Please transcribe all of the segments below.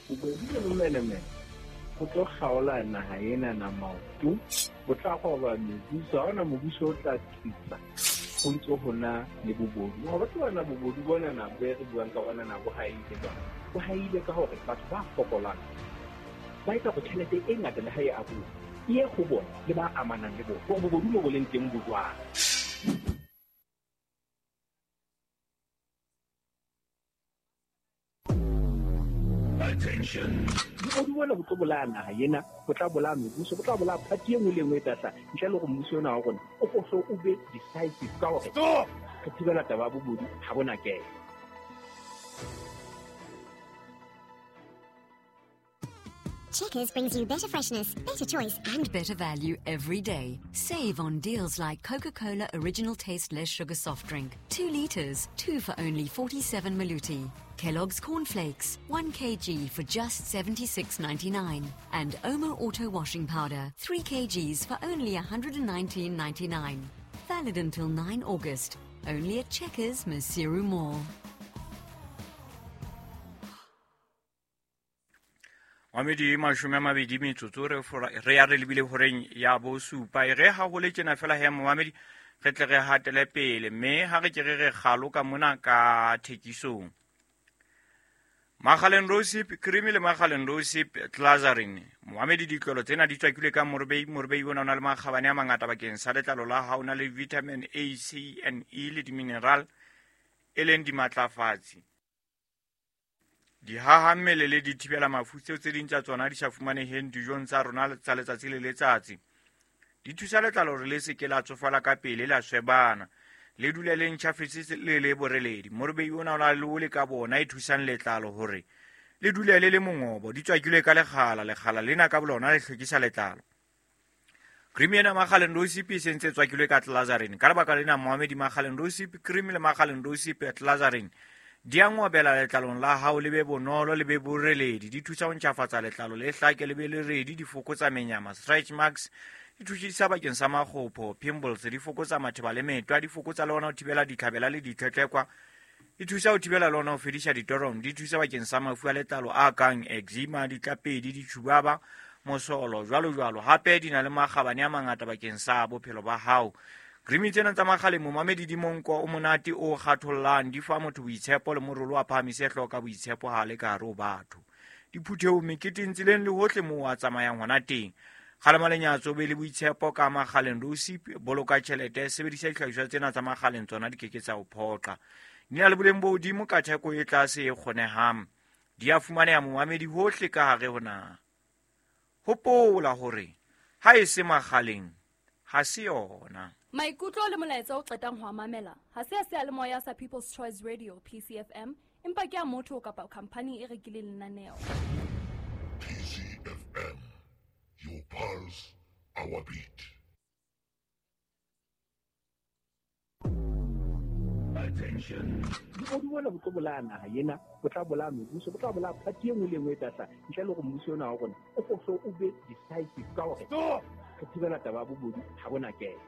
Bobodu le bomenemene bo tlo kgaola naha ena na maoto, bo tla roba mebuso. Ha hona mobuso o tla tsitsa ho ntso ho na le bobodu. Wa ba tseba na bobodu bona na bo re buang ka bona na bo haile jwang? Bo haile ka hore batho ba fokolang ba etsa hore tjhelete e ngata le ha e abuwa e ye ho bona le ba amanang le bona. Hore bobodu mo bo leng teng bo jwang. Bobodu bona bo tlo bolaya naha ena, bo tla bolaya mebuso, bo tla bolaya party e nngwe le e nngwe e tla hlaha ntle le hore mmuso ona wa rona o ko hlo o be decisive ka hore re thibela taba ya bobodu ha bona kelo. Checkers brings you better freshness, better choice, and better value every day. Save on deals like Coca Cola Original Taste Less Sugar Soft Drink, 2 liters, 2 for only 47 maluti. Kellogg's Cornflakes, 1 kg for just 76.99. And Omo Auto Washing Powder, 3 kgs for only 119.99. Valid until 9 August. Only at Checkers, Maseru Mall. Mamedi 20 metsotso re ya re lebile horeng ya bosupa. E re ha ho le tjena fela he momamedi, re tle re hatele pele, mme ha re ke re re kgalo ka mona ka thekisong. Makgaleng Rosip Cream le Makgaleng Rosip Glycerin. Momamedi, ditlolo tsena di tswakilwe ka morobei. Morobei ona o na le makgabane a mangata bakeng sa letlalo la hao, o na le vitamin A, C and E le di-mineral e leng dimatlafatsi. Dihaha mmele le dithibela mafu tseo tse ding tsa tsona di sa fumaneheng dijong tsa rona tsa letsatsi le letsatsi. Di thusa letlalo hore le se ke la tsofala ka pele, la swebana, le dule le ntjhafetse le le boreledi. Morobei ona o na le ole ka bona e thusang letlalo hore le dule le le mongobo. Di tswakilwe ka lekgala, lekgala lena ka bolona le hlwekisa letlalo. Cream ena Makgaleng Rosip e sentse tswakilwe ka Glycerin. Ka lebaka lena Mohamedi, Makgaleng Rosip Cream le Makgaleng Rosip Glycerin di a ngobela letlalong la hao, le be bonolo, le be boreledi. Di thusa ho ntjhafatsa letlalo le hlake, le be le redi, di fokotsa menyama, stretch marks, di thusa bakeng sa makgopho, pimples, di fokotsa matheba le metwa, di fokotsa le hona ho thibela ditlhabela le ditlhetlekwa, di thusa ho thibela le hona ho fedisa ditorong, di thusa bakeng sa mafu a letlalo a kang eczema, ditlapedi, ditjhubaba, mosolo, jwalo jwalo. Hape di na le makgabane a mangata bakeng sa bophelo ba hao. Cream tsena tsa Makgaleng momamedi di monko o monate o kgathollang, di fa motho boitshepo le morolo wa phahamise hlooho ka boitshepo ha le ka hare ho batho. Diphuthehong, meketeng, tseleng le hohle moo a tsamayang hona teng. Kgalema lenyatso, be le boitshepo ka Makgaleng Rosip, boloka tjhelete, sebedisa dihlahiswa tsena tsa Makgaleng, tsona di keke tsa o phoqa. Di na le boleng bo hodimo ka theko e tlase e kgonehang. Di a fumaneha momamedi hohle ka hare ho naha. Hopola hore ha e se Makgaleng ha se yona. Maikutlo le molaetsa o qetang ho a mamela ha se a seyalemoya sa People's Choice Radio PCFM, empa ke a motho kapa khampani e rekileng lenaneo. PCFM, your pulse, our beat. Attention. Bobodu bona bo tlo bolaya naha ena, bo tla bolaya mebuso, bo tla bolaya party e nngwe le e nngwe e tla hlaha ntle le hore mmuso ona wa rona o ko hlo o be decisive ka hore re thibela taba ya bobodu ha bona kelo.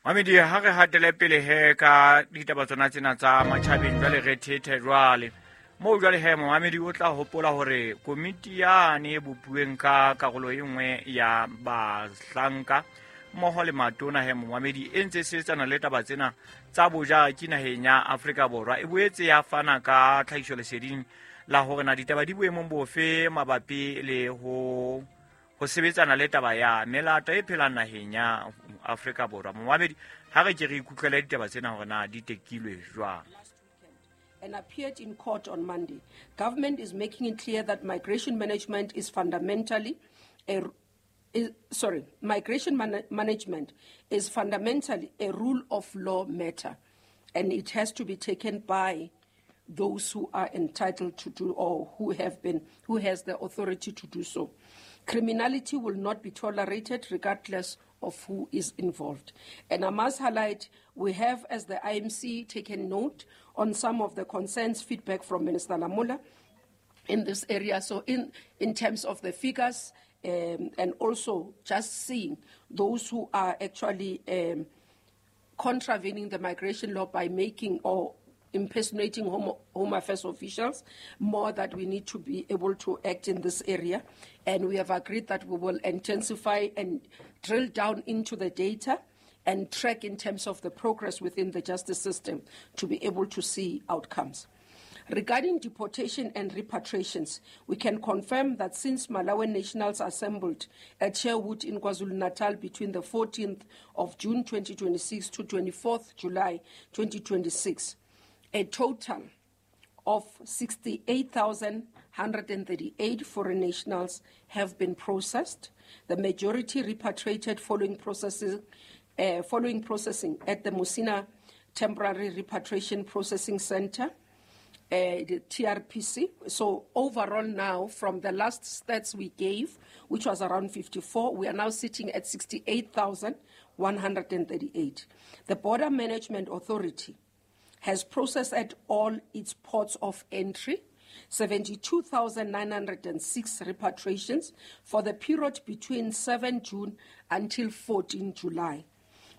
Mamedi, ha re hatele pele he ka ditaba tsona tsena tsa matjhabeng, jwale re thethe jwale. Moo jwale he momamedi o tla hopola hore komiti yane e bopuweng ka karolo e nngwe ya bahlanka mmoho le matona he momamedi e ntse e sebetsana le taba tsena tsa bojaki naheng ya Afrika Borwa. E boetse ya fana ka tlhahisoleseding la hore na ditaba di boemong bofe mabapi le ho sebetsana le taba ya melata e phelang naheng ya Afrika Borwa. Momamedi, ha re ke re ikutlwele ditaba tsena hore na di tekilwe jwang. And appeared in court on Monday. Government is making it clear that migration management is fundamentally a migration management is fundamentally a rule of law matter, and it has to be taken by those who are entitled to do or who has the authority to do so. Criminality will not be tolerated regardless of who is involved. And I must highlight, we have, as the IMC, taken note on some of the concerns, feedback from Minister Lamola in this area. So in terms of the figures, and also just seeing those who are actually contravening the migration law by making or impersonating Home Affairs officials, more that we need to be able to act in this area. And we have agreed that we will intensify and drill down into the data and track in terms of the progress within the justice system to be able to see outcomes. Regarding deportation and repatriations, we can confirm that since Malawian nationals assembled at Sherwood in KwaZulu-Natal between the 14th of June 2026 to 24th July 2026, a total of 68,138 foreign nationals have been processed. The majority repatriated following processing at the Musina Temporary Repatriation Processing Center, the TRPC. So overall now, from the last stats we gave, which was around 54, we are now sitting at 68,138. The Border Management Authority has processed at all its ports of entry 72,906 repatriations for the period between 7 June until 14 July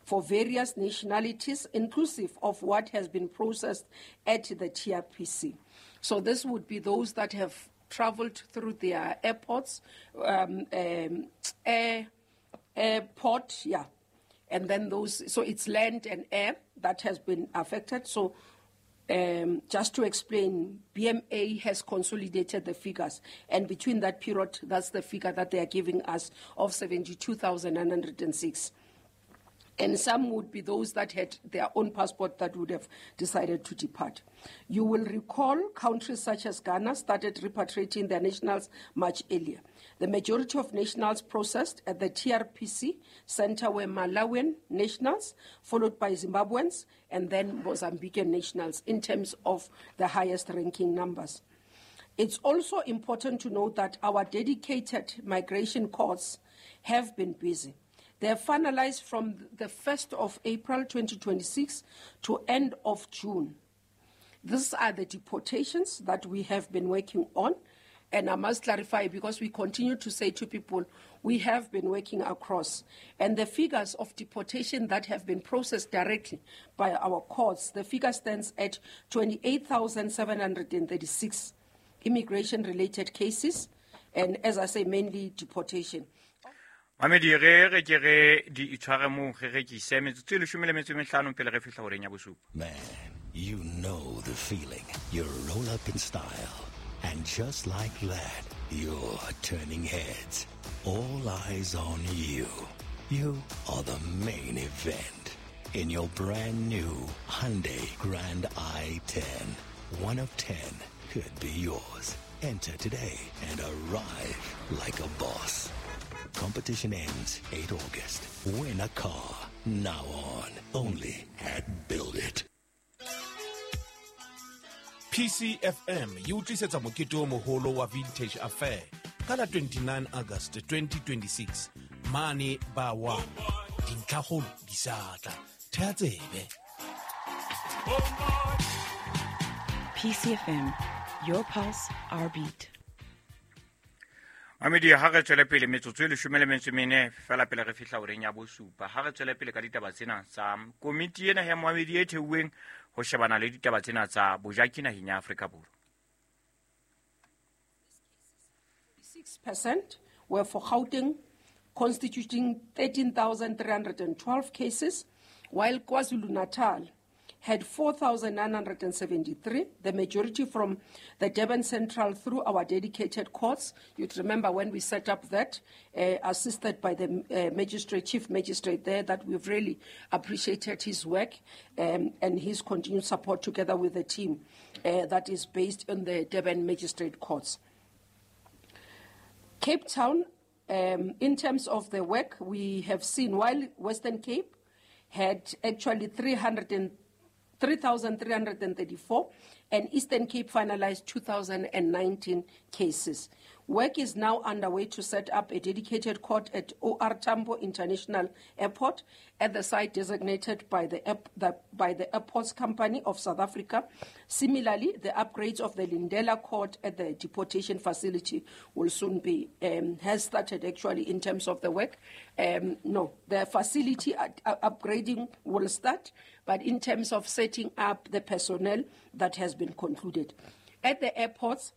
for various nationalities, inclusive of what has been processed at the TRPC. So this would be those that have traveled through their airports, airport, yeah. And then those, so it's land and air that has been affected. So just to explain, BMA has consolidated the figures. And between that period, that's the figure that they are giving us of 72,906. And some would be those that had their own passport that would have decided to depart. You will recall countries such as Ghana started repatriating their nationals much earlier. The majority of nationals processed at the TRPC center were Malawian nationals, followed by Zimbabweans, and then Mozambican nationals in terms of the highest ranking numbers. It's also important to note that our dedicated migration courts have been busy. They are finalized from the 1st of April 2026 to end of June. These are the deportations that we have been working on. And I must clarify, because we continue to say to people, we have been working across. And the figures of deportation that have been processed directly by our courts, the figure stands at 28,736 immigration-related cases. And as I say, mainly deportation. Mamedi re re ke re di itshware mo re rekise metsotso e 15 pele re fihla horeng ya bosupa. Man, you know the feeling. You roll up in style, and just like that, you're turning heads. All eyes on you. You are the main event in your brand new Hyundai Grand i10. 1 of 10 could be yours. Enter today and arrive like a boss. Competition ends 8 August. Win a car now on only at Build It. PCFM e utlisetsa mokete o moholo wa Vintage Affair ka la 29 August 2026 mane ba wa dintlhakgolo di sa tla. Thea tsebe. PCFM, your pulse, our beat. Mamedi ha re tswele pele metsotso e 14 fela pele re fihla horeng ya bosupa. Ha re tswele pele ka ditaba tsena tsa komiti ena ya Moamedi e theuweng ho shebana le ditaba tsena tsa bojaki naheng ya Afrika Borwa. 6% were for Gauteng, constituting 13,312 cases, while KwaZulu-Natal had 4,973, the majority from the Durban Central through our dedicated courts. You'd remember when we set up that, assisted by the magistrate, chief magistrate there, that we've really appreciated his work and his continued support together with the team that is based in the Durban Magistrate Courts. Cape Town, in terms of the work, we have seen while Western Cape had actually 3,334 and Eastern Cape finalized 2,019 cases. Work is now underway to set up a dedicated court at OR Tambo International Airport at the site designated by the Airports Company of South Africa. Similarly, the upgrades of the Lindela Court at the deportation facility will soon be, has started actually in terms of the work. The facility upgrading will start, but in terms of setting up the personnel, that has been concluded. At the airports,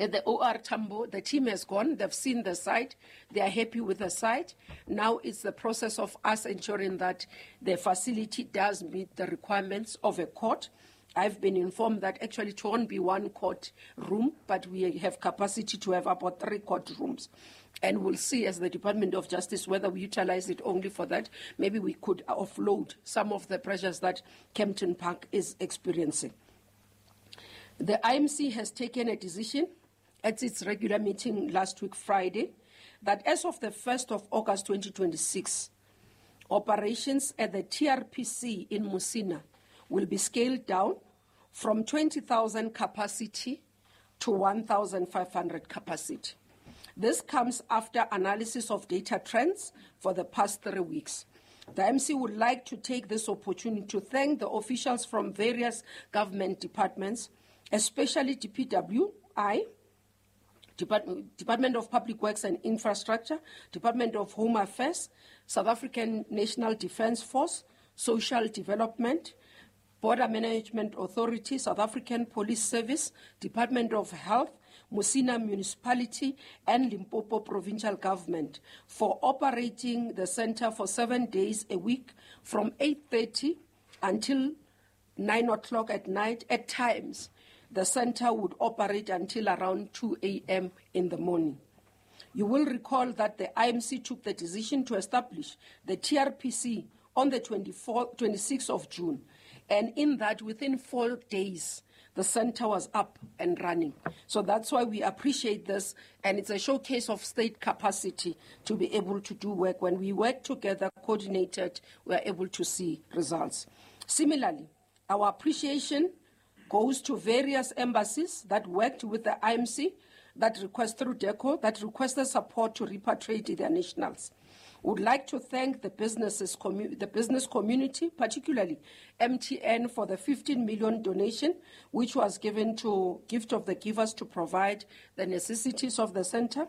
at the OR Tambo, the team has gone. They've seen the site. They are happy with the site. Now it's the process of us ensuring that the facility does meet the requirements of a court. I've been informed that actually it won't be one court room, but we have capacity to have about 3 court rooms. And we'll see as the Department of Justice whether we utilize it only for that. Maybe we could offload some of the pressures that Kempton Park is experiencing. The IMC has taken a decision at its regular meeting last week, Friday, that as of the 1st of August 2026, operations at the TRPC in Musina will be scaled down from 20,000 capacity to 1,500 capacity. This comes after analysis of data trends for the past 3 weeks. The MC would like to take this opportunity to thank the officials from various government departments, especially DPWI, Department of Public Works and Infrastructure, Department of Home Affairs, South African National Defence Force, Social Development, Border Management Authority, South African Police Service, Department of Health, Musina Municipality, and Limpopo Provincial Government for operating the center for 7 days a week from 8:30 until 9 o'clock at night. At times, the center would operate until around 2 a.m. in the morning. You will recall that the IMC took the decision to establish the TRPC on the 26th of June. And in that, within 4 days, the center was up and running. So that's why we appreciate this. And it's a showcase of state capacity to be able to do work. When we work together, coordinated, we are able to see results. Similarly, our appreciation goes to various embassies that worked with the IMC, that request through DECO, that requested support to repatriate their nationals. Would like to thank the business community, particularly MTN, for the 15 million donation, which was given to Gift of the Givers to provide the necessities of the center,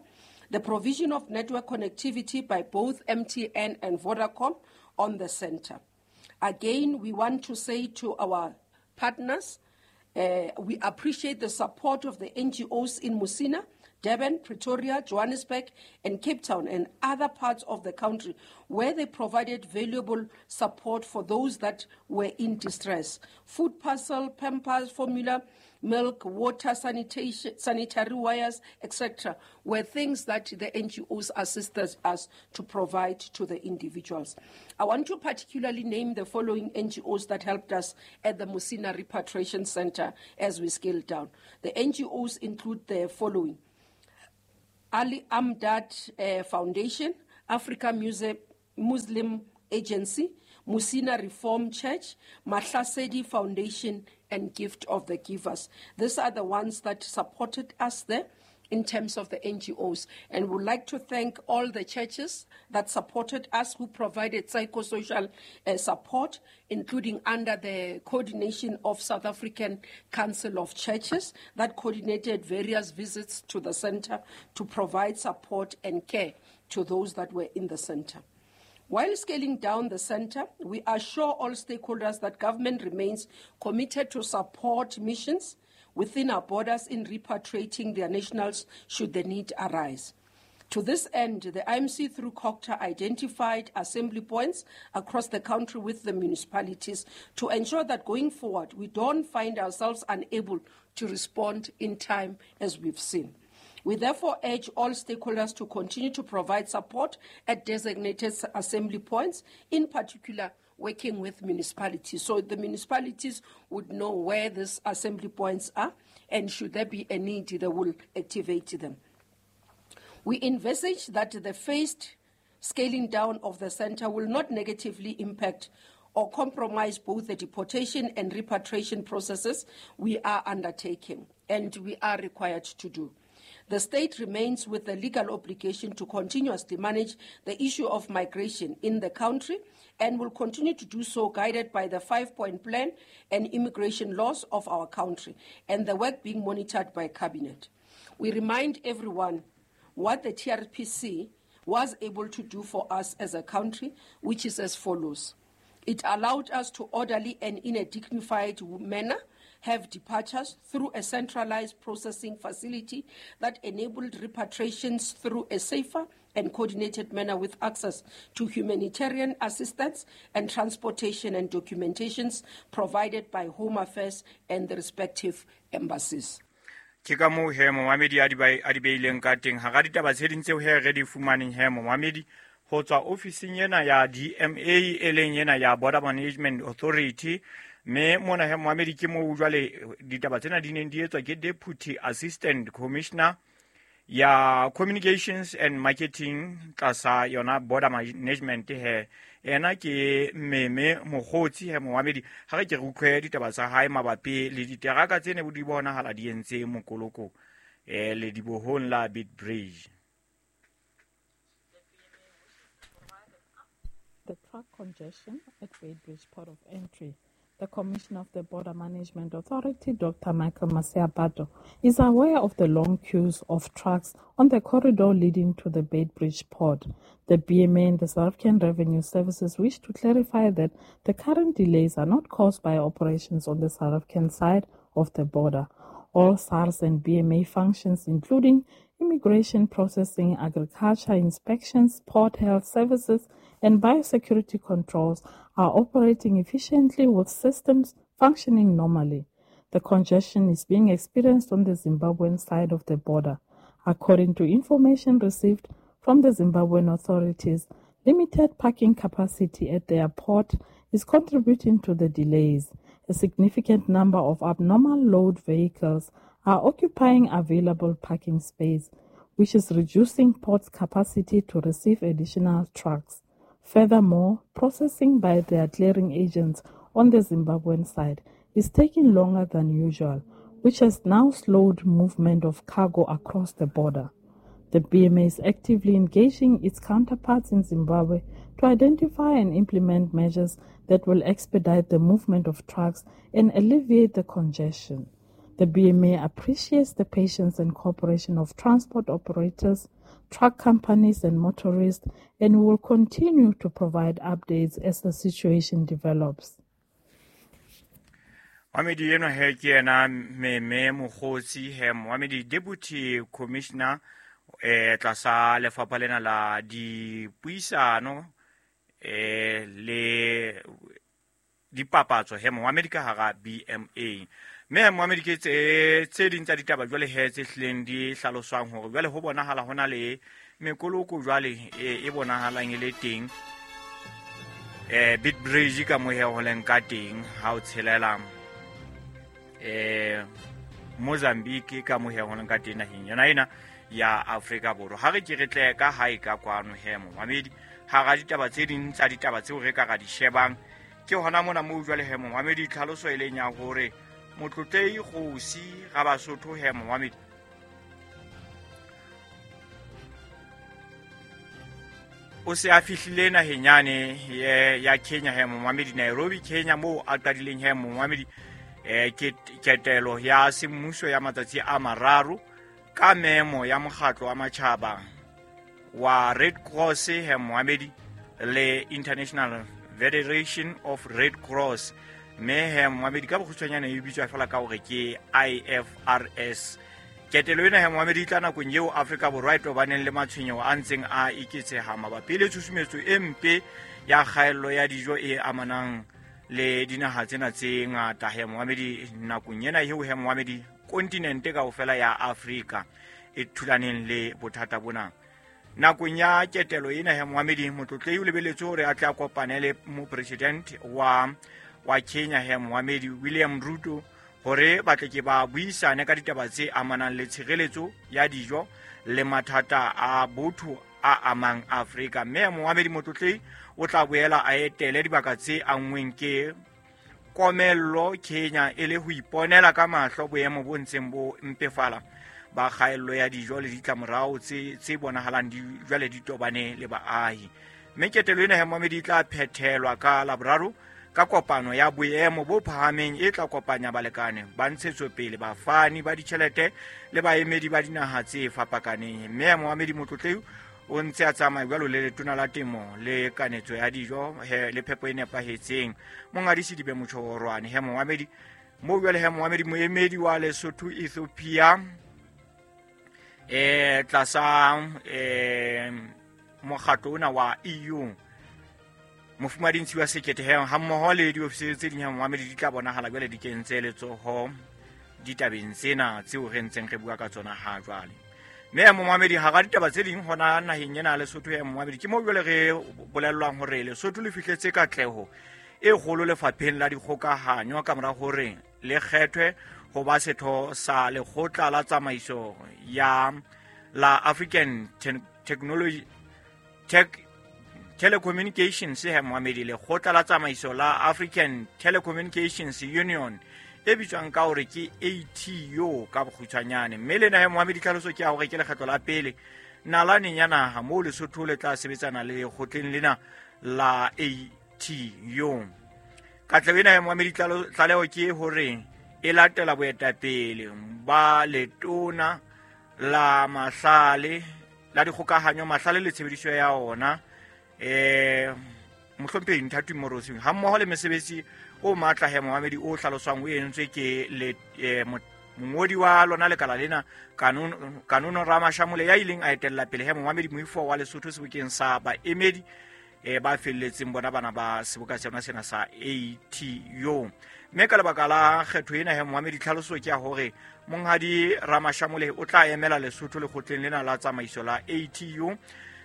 the provision of network connectivity by both MTN and Vodacom on the center. Again, we want to say to our partners, we appreciate the support of the NGOs in Musina, Durban, Pretoria, Johannesburg, and Cape Town, and other parts of the country where they provided valuable support for those that were in distress. Food parcel, Pampers, formula, milk, water, sanitation, sanitary wires, etc., were things that the NGOs assisted us to provide to the individuals. I want to particularly name the following NGOs that helped us at the Musina Repatriation Center as we scaled down. The NGOs include the following: Ali Amdad Foundation, Africa Muslim Agency, Musina Reform Church, Mahlasedi Foundation, and Gift of the Givers. These are the ones that supported us there in terms of the NGOs. And we'd like to thank all the churches that supported us, who provided psychosocial support, including under the coordination of South African Council of Churches that coordinated various visits to the center to provide support and care to those that were in the center. While scaling down the center, we assure all stakeholders that government remains committed to support missions within our borders in repatriating their nationals should the need arise. To this end, the IMC through COGTA identified assembly points across the country with the municipalities to ensure that going forward, we don't find ourselves unable to respond in time as we've seen. We therefore urge all stakeholders to continue to provide support at designated assembly points, in particular working with municipalities. So the municipalities would know where these assembly points are, and should there be a need, they will activate them. We envisage that the phased scaling down of the center will not negatively impact or compromise both the deportation and repatriation processes we are undertaking and we are required to do. The state remains with the legal obligation to continuously manage the issue of migration in the country and will continue to do so, guided by the 5-point plan and immigration laws of our country and the work being monitored by Cabinet. We remind everyone what the TRPC was able to do for us as a country, which is as follows. It allowed us to orderly and in a dignified manner have departures through a centralized processing facility that enabled repatriations through a safer and coordinated manner with access to humanitarian assistance and transportation and documentations provided by Home Affairs and the respective embassies. Ke ka moo he momamedi a di beileng ka teng hara ditaba tse ding tseo he re di fumaneng he momamedi ho tswa ofising ena ya DMA e leng ena ya Border Management Authority. Mme mona he momamedi ke moo jwale ditaba tsena di neng di etswa ke Deputy Assistant Commissioner ya Communications and Marketing tlasa yona Border Management he ena ke Meme Mogotsi he momamedi. Ha re ke re utlwe ditaba tsa hae mabapi le diteraka tse ne di bonahala di entse mokoloko le dibohong la Beitbridge. The truck congestion at Beitbridge Port of Entry. The Commissioner of the Border Management Authority, Dr. Michael Masiapato, is aware of the long queues of trucks on the corridor leading to the Beitbridge port. The BMA and the South African Revenue Services wish to clarify that the current delays are not caused by operations on the South African side of the border. All SARS and BMA functions, including immigration processing, agriculture inspections, port health services, and biosecurity controls, are operating efficiently with systems functioning normally. The congestion is being experienced on the Zimbabwean side of the border. According to information received from the Zimbabwean authorities, limited parking capacity at their port is contributing to the delays. A significant number of abnormal load vehicles are occupying available parking space, which is reducing port's capacity to receive additional trucks. Furthermore, processing by their clearing agents on the Zimbabwean side is taking longer than usual, which has now slowed movement of cargo across the border. The BMA is actively engaging its counterparts in Zimbabwe to identify and implement measures that will expedite the movement of trucks and alleviate the congestion. The BMA appreciates the patience and cooperation of transport operators, truck companies and motorists, and will continue to provide updates as the situation develops. Mohamedi eno he ke yena Meme Mogotsi he Mohamedi Deputy Commissioner tlasa lefapha lena la dipuisano le dipapatso he Mohamedi ka hara BMA. Mme Mohamedi ke tse ding tsa ditaba jwale he tse hlileng di hlaloswang hore jwale ho bonahala hona le mekoloko jwale e bonahalang e le teng Beitbridge ka mo he ho leng ka teng ha o tshelela Mozambique ka mo he ho leng ka teng naheng yona ena ya Afrika Borwa. Ha re ke re tle ka hae ka kwano he Mohamedi hara ditaba tse ding tsa ditaba tseo re ka ra di shebang ke hona mona moo jwale he Mohamedi tlhaloso e leng ya hore Motlotlei Kgosi Rabasotho he Mohamedi o se a fihlile naheng yane ya Kenya he Mohamedi, Nairobi Kenya, moo a qadileng he Mohamedi ketelo ya semmuso ya matsatsi a mararo ka memo ya mokgatlo wa matjhaba wa Red Cross he Mohamedi le International Federation of Red Cross. Mme he Mohamedi ka bokgutshwanyane e bitswa fela ka hore ke IFRS. Ketelo ena he Mohamedi e tla nakong eo Afrika Borwa e tobaneng le matshwenyeho a ntseng a eketseha mabapi le tshusumetso e mpe ya kgaello ya dijo e amanang le dinaha tsena tse ngata he Mohamedi. Nakong ena eo he Mohamedi kontinente kaofela ya Afrika e thulaneng le bothata bona. Nakong ya ketelo ena he Mohamedi, motlotlei o lebeletse hore a tle a kopane le mopresident wa Kenya he Mohamedi William Ruto hore ba tle ke ba buisane ka ditaba tse amanang le tshireletso ya dijo le mathata a botho a amang Afrika. Mme Mohamedi motlotlei o tla boela a etele dibaka tse anngweng ke komello Kenya e le ho iponela ka mahlo boemo bo ntseng bo mpefala ba kgaello ya dijo le ditlamorao tse bonahalang di jwale di tobane le baahi. Mme ketelo ena he moamedi e tla phethelwa ka Laboraro ka kopano ya boemo bo phahameng e tla kopanya balekane ba ntshetsopele, bafani ba ditjhelete le baemedi ba dinaha tse fapakaneng. Mme moamedi Motlotleu o ntse a tsamaya jwalo le letona la temo le kanetso ya dijo le phepo e nepahetseng Monghadi Sedibe Motjhorwane. He moamedi mo jwale he moamedi moemedi wa Lesotho Ethiopia tlasa mokgatlo ona wa EU Mofumadi Ntshiwa Sekete he ha mmoho le diofisiri tse ding ha moamedi di tla bonahala jwale di kentse letsoho ditabeng tsena tseo re ntseng re bua ka tsona ha jwale. Mme moamedi hara ditaba tse ding hona naheng ena Lesotho ya moamedi ke mo jwale re bolellwang hore Lesotho le fihletse katleho e kgolo lefapheng la dikgokahanyo ka mora hore le kgethwe ho ba setho sa lekgotla la tsamaiso ya la African Technology Tech Telecommunications he moamedi lekgotla la tsamaiso la African Telecommunications Union e bitswang ka hore ke ATU ka bokgutshwanyane. Mme lena he moamedi tlhaloso ke ya hore ke lekgetlo la pele nalaneng ya naha moo Lesotho le tla sebetsana le lekgotleng lena la ATU. Katleho ena he moamedi tlaleho ke hore e latela boetapele ba letona la mahlale la dikgokahanyo mahlale le tshebediso ya ona mohlomphehi Nthati Morosing ha mmoho le mesebetsi o matla he moamedi o hlaloswang o entswe ke le mongodi wa lona lekala lena Kanono Ramashamole ya ileng a etella pele he moamedi moifo wa Lesotho sebokeng sa baemedi ba felletseng bona bana ba seboka sona sena sa ATU. Mme ka lebaka la kgetho ena he moamedi tlhaloso ke ya hore Monghadi Ramashamole o tla emela Lesotho lekgotleng lena la tsamaiso la ATU.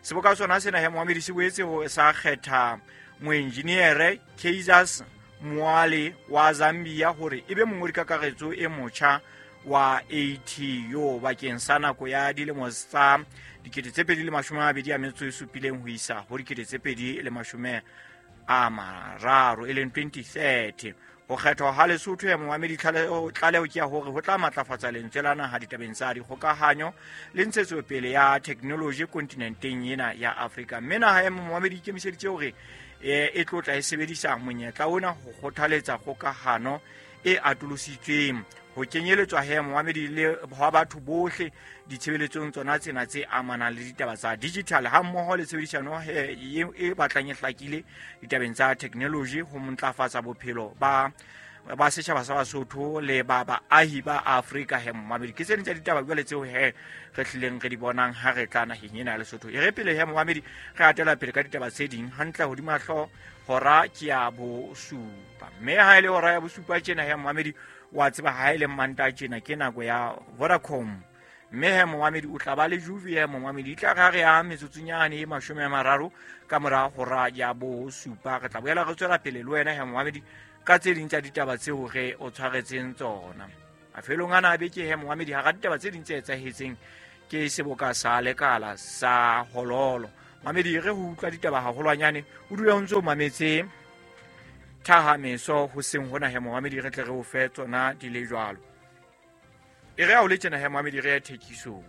Seboka sona sena he moamedi se boetse ho sa kgetha moenjiniere Kaisers Moale wa Zambia hore ebe mongodi kakaretso e motjha wa ATU bakeng sa nako ya dilemo tsa 2027 ho isa ho 2030 e leng 2030. Ho kgethwa ha Lesotho ya moamedi tlaleho ke ya hore ho tla matlafatsa lentswe la naha ditabeng tsa dikgokahanyo le ntshetsopele ya technology kontinenteng ena ya Afrika. Mme naha ya moamedi ikemiseditse hore e tlotla e sebedisa monyetla ona ho kgothaletsa kgokahano e atolositsweng ho kenyeletswa he moamedi le hwa batho bohle ditshebeletsong tsona tsena tse amanang le ditaba tsa digital ha mmoho le tshebedisano e batlang e hlakile ditabeng tsa technology ho ntlafatsa bophelo ba setjhaba sa Basotho le ba baahi ba Afrika he moamedi. Ke tse ding tsa ditaba jwale tseo he re hlileng re di bonang ha re tla naheng ena ya Lesotho. E re pele he moamedi re atela pele ka ditaba tse ding hantle hodima hlooho hora ke ya bosupa. Mme ha e le hora ya bosupa tjena he moamedi wa tseba ha e le Manta tjena ke nako ya Vodacom. Mme he moamedi o tla ba le Juve he moamedi tla re ya metsotsunyane e 30 ka mora hora ya bosupa. Re tla boela re tswela pele le wena he moamedi ka tse ding tsa ditaba tseo re o tshwaretseng tsona. Mafelong ana a beke he moamedi hara ditaba tse ding tse etsahetseng ke seboka sa lekala sa Hololo. Moamedi re ho utlwa ditaba haholwanyane o dule o ntse o mametse thahameso ho seng hona he moamedi re tle re o fe tsona di le jwalo. E re ha o le tjena he moamedi re ya thekisong.